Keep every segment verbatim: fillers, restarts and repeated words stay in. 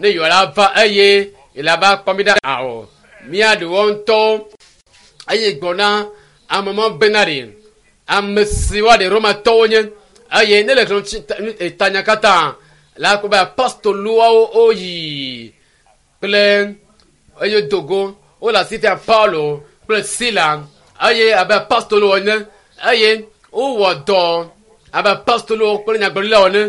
Ne yɔ la va eye yele va kpɔ mi ɖa awɔ mía ɖewo ŋutɔ eye gbɔna ame ma bena ɖe ame si wa ɖe romatɔwo nye eye ne le xlẽ tanya katã la ko be apostoloawo woyi kple eye dogo wole asi fia Paulo kple Sila eye abe apostolowo ene eye wowɔ dɔ abe apostolowo kple nyagblɔɖilawo ene.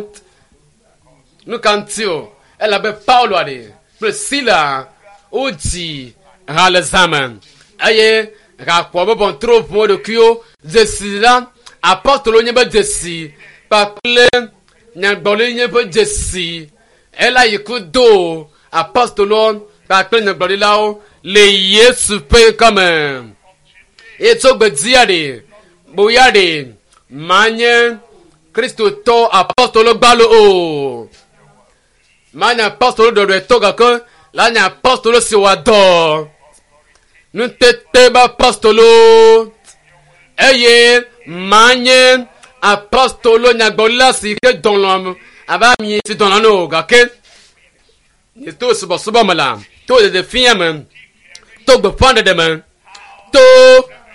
Nu ka ŋuti o elabe Paulo aɖe kple Sila wodzi ha le zã me eye hakpɔ be bɔntro ʋu wo ɖokuiwo dzesi la apostolo nye be dzesi kpakple nyagblɔɖi nye ƒe dzesi ela yi ku do apostolo kpakple nyagblɔɖilawo le Yesu ƒe ŋkɔme. Eye tso gbedzia ɖe boya ɖe manye kristotɔ apostolo gbalo o manye apostolo ɖɔɖɔetɔ gake la nye apostolo si wɔ dɔ nutete be apostolo eye manye apostolo nyagblɔɖila si ke dɔlɔm abe ami si dɔlɔm o gake to subɔsubɔ me la to ɖeɖefia me to gbeƒãɖeɖe me to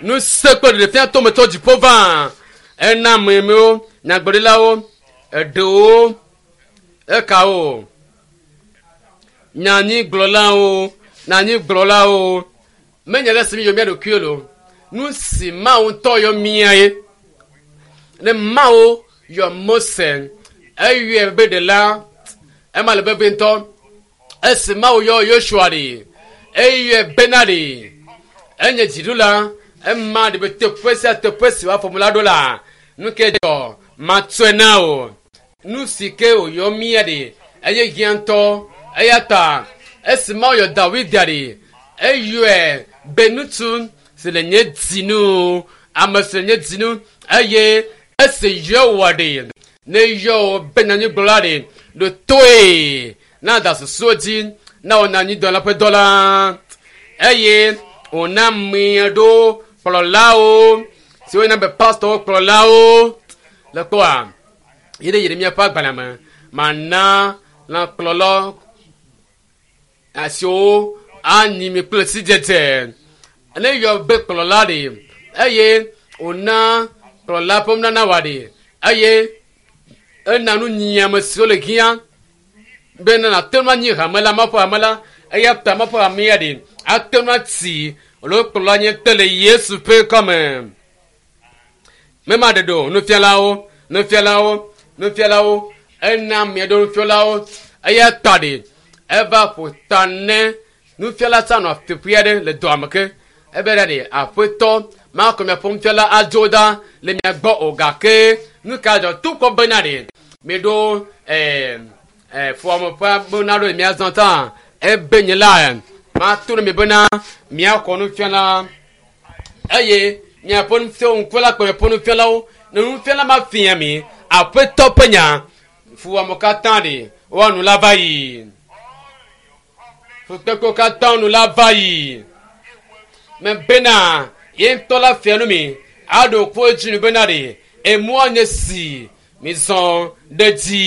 nuse kple ɖeɖefia to me tso dziƒo va ena amewo nyagblɔɖilawo eɖewo ekawo nyanyigblɔlawo nyanyigblɔlawo menye le si mi yɔ mía ɖokuiwo lo nu si Mawu ŋutɔ yɔ mía ye ne Mawu yɔ Mose eyɔe be ɖela ema le vevie ŋutɔ esi Mawu yɔ Yosua ɖe eyɔe bena ɖe enye dziɖula ema ɖe be teƒe sia teƒe si woafɔ mu la ɖo la nu ke dzɔ matsɔe na o nu si ke wòyɔ mía ɖe eye hiã ŋutɔ eya ta esi Mawu yɔ Dawid ɖe eyɔe be ŋutsu si le nye dzinu ame si le nye dzinu eye esi yɔ wɔ ɖe ne yɔ wò be nyanyigblɔla ɖe ɖo toe na da susuwo dzi na wò nyanyidɔla ƒe dɔ la eye wòna mia ɖo kplɔlawo siwo yina be pastɔwo kplɔlawo le kpɔa yi ɖe yi ɖe míaƒe agbalẽ me mana lãkplɔlɔ siwo anyi mi kple sidzedze ne yɔ be kplɔla ɖe eye wòna kplɔla ƒe nunana wa ɖe eye ena nu nyiame siwo le hiã be ne nàte ŋu anyi hame la Mawu ƒe hame la eya ta Mawu ƒe hamea ɖe ate ŋu ati alo kplɔla nye te le Yesu ƒe ŋkɔme. Mema ɖeɖe o nufialawo nufialawo nufialawo ena mia ɖo nufialawo eya ta ɖe eva ƒo ta ne nufiala tsa nɔ teƒe aɖe le dɔa me ke ebe ɖe ɖe aƒetɔ makɔ miaƒe nufiala adzo ɖa le mia gbɔ o gake nu ka dzɔ to kɔ bena ɖe miɖo ɛɛ ɛɛ fuame ƒe bena ɖo mia zɔ ta ebe nye la mato ne mi bena miakɔ nufiala eye miaƒe nufiawo ŋkula kple miaƒe nufialawo ne nufiala ma fia mi aƒetɔ ƒe nya fuame katã ɖe woanu la va yi fukpekpewo katã nu la va yi me bena ye ŋutɔ la fia nu mi aɖo kpo edzi nu bena ɖe emɔa nye si mi zɔ ɖe dzi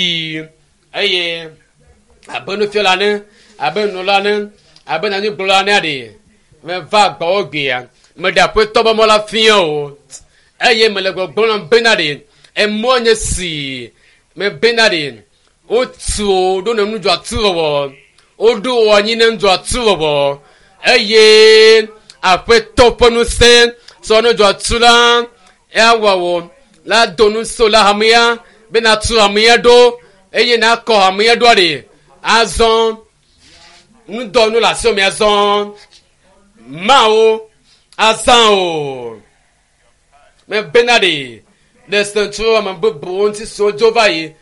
eye abe nufiala ne abe nunɔla ne abe nyanyigblɔla ne ɖe meva gbɔwò gbea meɖe aƒetɔ be mɔ la fia o eye mele gbɔgblɔm nam bena ɖe emɔa nye si me bena ɖe wotu wo ɖo ne nudzɔatu wɔwɔ woɖo wo anyi ne nudzɔatu wɔwɔ eye aƒetɔ ƒe ŋusẽ sɔ nudzɔatu la ewɔ wo la do ŋusẽ la hamea be natu hamea ɖo eye nakɔ hamea ɖoa ɖe azɔ ŋudɔnu le asiwò me azɔ mawo azã o mebena ɖe le sentso ame bubuwo ŋuti siwo dzo va yi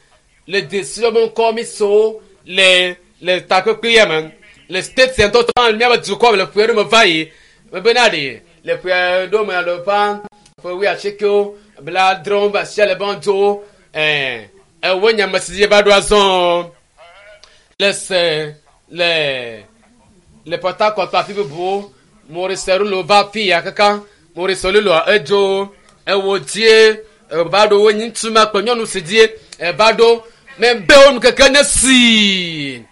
le desiwo be ŋkɔ mi siwo le le takpekpe ya me le state ŋutɔ tɔ míabe dukɔ me le ƒe ɖo me va yi mebena ɖe le ƒe ɖo me alo ƒe ƒe wuiasiekewo blaadrewo be asia le be dzo ɛɛ ewo nye ame si dzi va ɖo azɔ le se le le Port Harcourt afi bubuwo Maurice Rulo va fi ya kaka Maurice Rulo edzo ewo dzie eva ɖo wo nyi ŋutsu ma kple nyɔnu si dzie eva ɖo mebe wo nu keke ne si